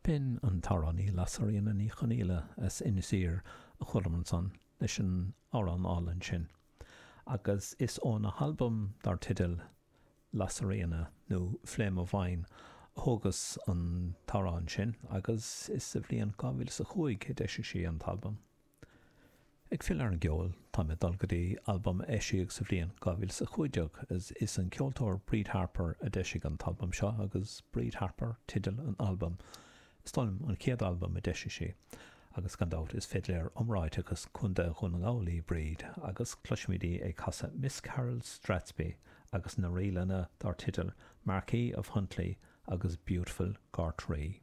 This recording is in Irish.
B'in an t-amhránaí Lasairfhíona Ní Chonghaile as Inis Oírr a chualamar ansan leis an amhrán álainn sin. Agus is óna halbam dar teideal Lasairfhíona nó Flame of Wine a thógas an t-amhrán sin agus is sa bhliain 2005 a d'eisigh sí an t-albam. Ag filleadh ar an gceol, táim ag dul go dtí albam a eisíodh sa bhliain 2015. Is an ceoltóir Bríd Harper a d'eisigh an t-albam seo agus Bríd Harper teideal an albaim. Is dóigh liom an chéad albam a d'eisigh sí. Agus gan dabht is fidléir iomráiteach as Contae Dhún na nGall í Bríd agus cloisfimid í ag casadh Miss Carol Strathspey agus na ríleanna dar teideal Marquis of Huntly agus Beautiful Gortree.